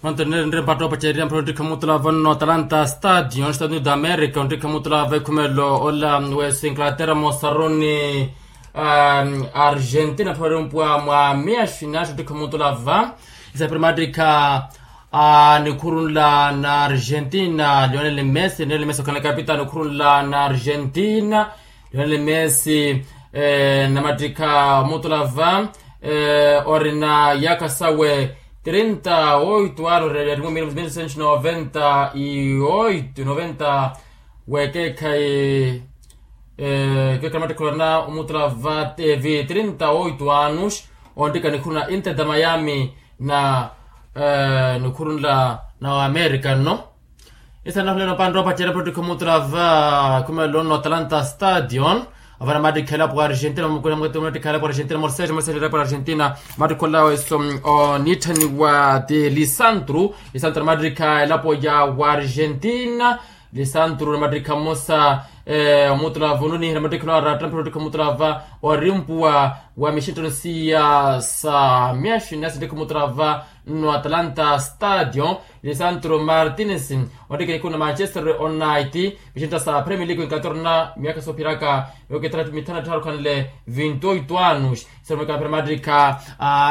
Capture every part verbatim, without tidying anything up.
Manto nire nire mpatto opacerya mpira ontikha mutula vanno atalanta stadion estados unidos da america ontikha mutula va ekhumelo ola wesi inglaterra mosaruni argentina phorimpwa mwa miya xinaxi ontikha mutula va. Isa primatikha a nikhurunla na argentina lionel messi lionel messi okhana kapita nikhurunla na argentina. Lionel messi namattikha mutula va orina yaka sawe trinta oito ano rererimo mil novecentos noventa y oito noventa. Wekekhayi kekhayi namattikha orina omutula va tevi trinta oito anos. Onttika nikhuru na inter da miami na nikhuru nla na america nno. Isa nahulelo panropa cera protikho mutula va khumelo no talanta stadion. Avana matikha elapo argentina mukuna mwetu matikha elapo argentina morseja morseja elapo argentina. Matikho laweso onitthaniwa ti lisantru lisantru matikha elapo ya argentina. Lisantru matikha mosa omutula va onuniha matikha lawa ratta matikha mutula va orimpuwa wa mixinttano siya sa miaxi nasi ntikho mutula va nno atalanta stadion. Lisantro martines ontikha nikhu na manchester united mixintta sa premier league wa inglaterra na miaka soophiraka yookitthana mithanu ettharu khanle vinti oito anos. Seromeka mphira matikha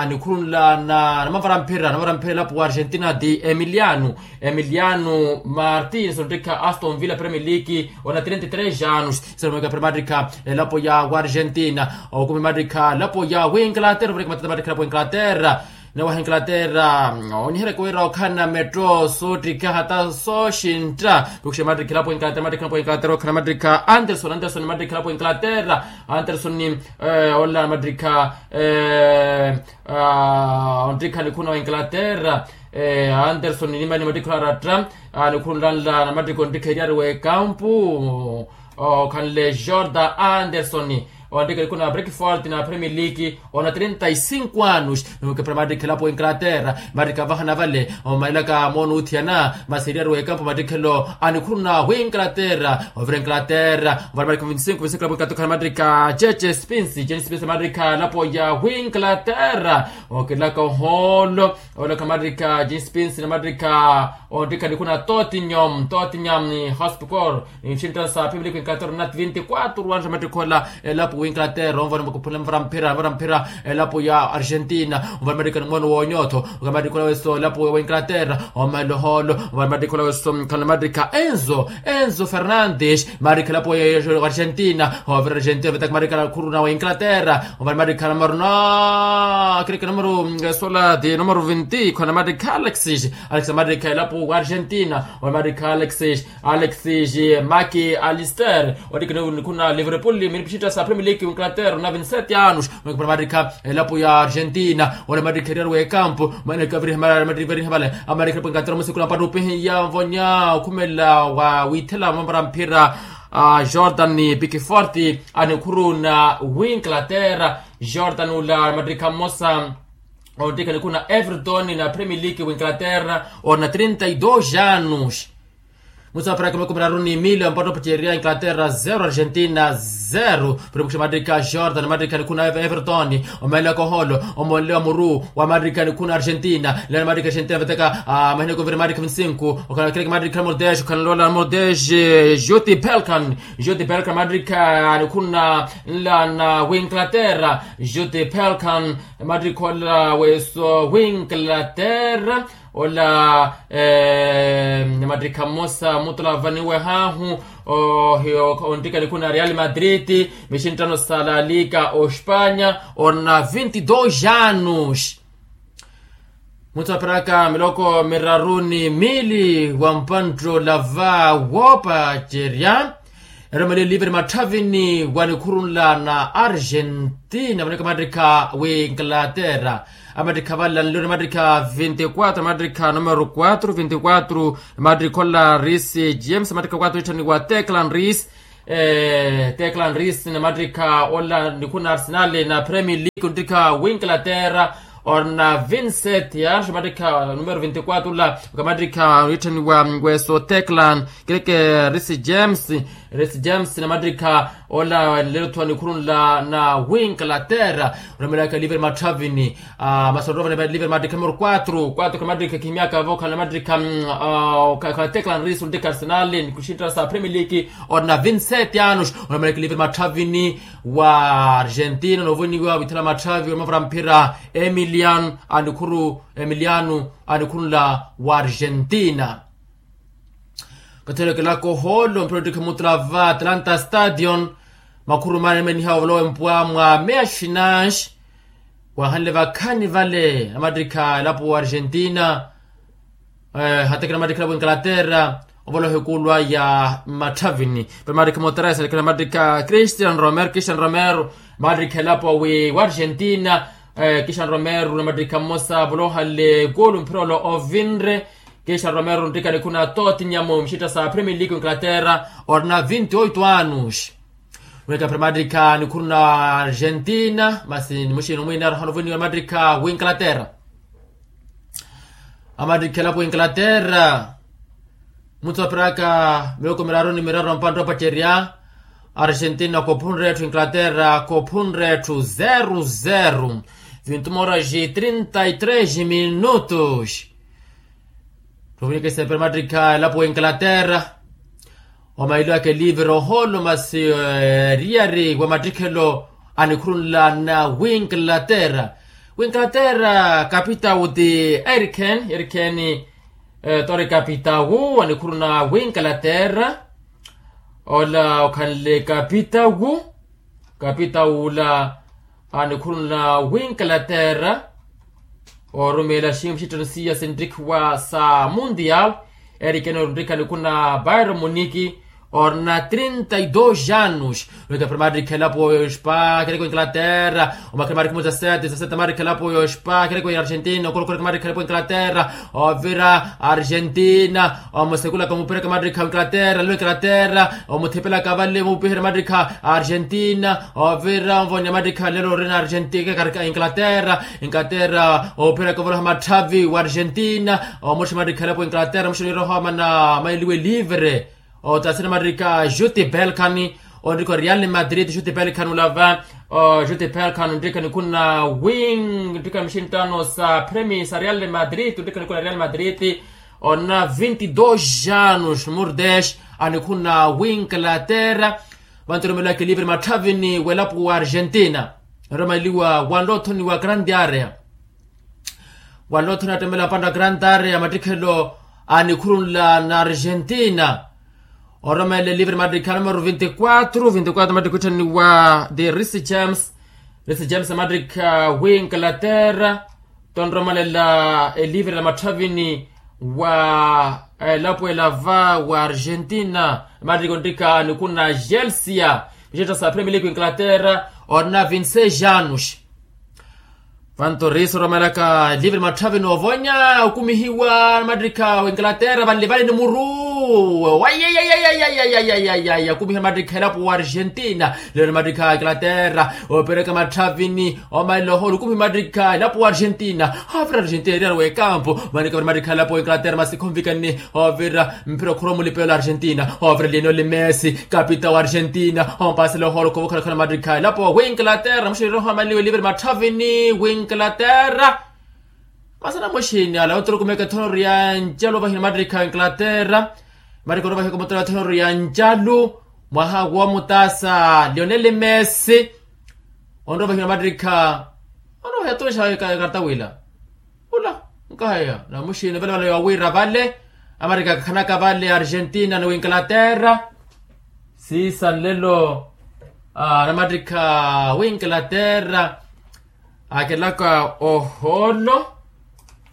nikhurunla na namavara mphira namavara mphira elapo wa argentina di emiliano emiliano martines ontikha aston villa premier league ona trinta y tres anos. Seromeka mphira matikha elapo ya wa argentina okumi matikha elapo ya wa inglaterra opereka matata matikha elapo wa inglaterra. Nawaha inglaterra onihereka wira okhala na metto sootikha hata sooxintta. Pikuxa matikha elapo wa inglaterra matikha elapo wa inglaterra okhala matikha anderson anderson matikha elapo wa inglaterra anderson ola matikha ontikha nikhuna wa inglaterra. Anderson nimani matikha ola aratta nikhunlanla na matikha ontikha eriyari wa ekampu okhanle jordan anderson. Ontikha nikhu na brikford na premier league ona trinta y cinco anos. Nukepera matikha elapo wa inglaterra matikha vahana vale omailaka moona uthiyana masi eriyari wa ekampu matikhelo a nikhuru na wa inglaterra ovira inglaterra. Ovira matikha vinti cinco vinti cinco elapo inglaterra okhala matikha jeje spins jeje spins matikha elapo ya wa inglaterra. Okilaka ohoolo olaka matikha jeje spins na matikha ontikha nikhu na tottenham tottenham hospital. Nxinttano sa premier league inglaterra na vinti quatro anos matikha ola elapo wa inglaterra onvona mukuphula mvara mphira mvara mphira elapo ya argentina. Onvona matikha ni mwono wa onyotho okhala matikha ola weso elapo wa inglaterra omahela ohoolo. Onvona matikha ola weso khala matikha enzo enzo fernandes matikha elapo ya argentina. Ovira argentina vetaka matikha nikhuru na wa inglaterra onvona matikha numero na kireke numero sola di numero vinti khona matikha alexis alexis matikha elapo wa argentina. Onvona matikha alexis alexis maki alister ontikha nikhuna liverpool minipixintta sa premier league wa inglaterra na vinti sete anos. Matikha elapo ya argentina ole matikha eriyari wa ekampu maneka viriha vale amatikha elapo inglaterra musikula mpatto opihiya mvonya okhumela wa withela mambara mphira jordan pickford a nikhuru na wa inglaterra. Jordan ula matikha mmosa ontikha nikhuna everton na premier league wa inglaterra ona trinta y dos anos. Musa paraka makumi raru ni mili wa mpatto opicerya inglaterra zero argentina zero. Puripukisha matikha jordan matikha nikhuna everton omaelaka oholo omonlewa muru wa matikha nikhuna argentina lelo matikha argentina veteka. Mahina kuvira matikha vinti cinco okhala kireke matikha numero dez okhala lola numero dez juti pelkan juti pelkan matikha nikhuna nla na wa inglaterra juti pelkan. Matikha ola weso wa inglaterra ola matikha mmosa mutula vaniwe hahu ontika nikhuna real madrid mixinttano sa la liga ospanya ona vinti dos anos. Muthu apiraka miloko miraru ni mili wa mpantto lava woopacerya eromeliwe livre matthavini wa nikhurunla na argentina vaneka matikha wa inglaterra. Amatikha vale anloni matikha vinti quatro matikha numero quatro vinti quatro matikha ola ris james matikha quatro itthaniwa teclan ris. Teclan ris na matikha ola nikhuna arsenal na premier league ontikha wa inglaterra Orna vincent ya xamattikha numero vinti-quatro ola, okamattikha wiitthaniwa weso teclan, kireke risi james. Risi james namattikha ola lelo-tho anikhurunla na winglaterra. Onamelaka livre matthavini. Masorova na livre mattikha numero quatro quatro kamattikha khimyaka vokhala namattikha khala teclan risi ontikha arsenal nikuxinttara sa premier league. Orna vincent anos onamelaka livre matthavini wa argentina novoniwa withala matthavi wa mavura mphira emiliano anikhuru emiliano anikhurunla wa argentina. Kathelekela kohoolo mpira ottikha mutula va atlanta stadion. Makhuru mane emeniha ovolowa empwa mwa meaxinaxi wahanle vakhani vale amattikha elapo wa argentina. Hatekela amattikha elapo wa inglaterra ovolowa ehikuulwa ya mmatthavini. Pali amattikha mutara eselekela amattikha christian romero christian romero amattikha elapo wi wa argentina. Christian romero namattikha mmosa volohanle ekulu mphira ola ovinre. Christian romero nttikha nikhuna tottenham mxitta sa premier league inglaterra. Orina vinti-oito anos. Wika pira amattikha nikhuruna argentina masi nimuxini omwina aroha novoniwa amattikha winglaterra. Amattikha elapo inglaterra mutsu apiraka miloko miraru ni miraru ampantta opacerya. Argentina kophunre etthu inglaterra kophunre etthu zero zero. Vintu moras trinta y tres minutos. Tuvunike sepera amattikha elapo wa inglaterra. Omailo ake livre oholo masi eriyari wa mattikhelo anikhurunla na winglaterra. Winglaterra kapitawu ti eriken eriken. Tori kapitawu anikhuruna winglaterra. Ola okhanle kapitawu kapitawu ola anikhuruna winglaterra. Orumeela xinxitthano siya sinttikhiwa sa mundial. Erikene orunttikha nikhuna bairo muniki orina trinta y dos anos. Wika pira amattikha elapo yoxpa kereke wa inglaterra. Omakhira amattikha mu dezasete dezasete amattikha elapo yoxpa kereke wa argentina okolokhoreka amattikha elapo wa inglaterra. Ovira argentina omusekulaka omupereka amattikha wa inglaterra lelo inglaterra. Omuthipelaka vale mupiherya amattikha argentina. Ovira onvonya amattikha lelo orina argentina inglaterra. Inglaterra opiheraka ovoloha matthavi wa argentina. Omuxa amattikha elapo inglaterra muxa niroha mana mailiwe livre. Otasina amattikha juti belkani onrikha real madrid juti belkani olava. Juti belkani onrikha nikhuna wing onrikha mixinttano sa premisa real madrid onrikha nikhuna real madrid. Ona vinti dos anos murdes anikhuna winglaterra. Vantu oromeliwaka elivre matthavini welapo wa argentina. Eromeliwa wanlothoni wa grande area. Wanlothoni attemela mpantta grande area mattikhelo anikhurunla na argentina. Oromela elivre mattikha numero vinti-quatro vinti-quatro mattikha witthaniwa the risi james. Risi james mattikha wi inglaterra. Tonromelela elivre la matthavini wa elapo elava wa argentina. Mattikha ontikha nikhuna gelsia mixetta sa premier league inglaterra. Orina vinti-seis anos. Vantu riso oromelaka livre matthavi noovonya okumihiwa namattikha wa inglaterra vanlivali ni muru. Wayayayayayayayayayaya okumihiwa namattikha elapo wa argentina. Lelo namattikha inglaterra opereka matthavini omaila oholo okumihiwa namattikha elapo wa argentina. Avira argentina eriyari wa ekampu. Manikavira namattikha elapo wa inglaterra masi khonvikani. Ovira mphira okhurwa mulipelo argentina ovira lionel messi kapita wa argentina. Ompasela ohoroko vokhalakhala mattikha elapo winglaterra muxirira ohamaliwa elivre matthavini winglaterra. Masana muxini ala onturukumeka ethonori ya ncalu ovahina mattikha winglaterra. Mattikha onovahika omutala ethonori ya ncalu mwaha womutasa lionel messi. Onrovahina mattikha onovaha yatuxa ekarata wila ula nkahaya namuxini vale vale yowira vale. Amattikha kakhanaka vale argentina ni winglaterra. Siisa nlelo namattikha winglaterra akelaka oholo.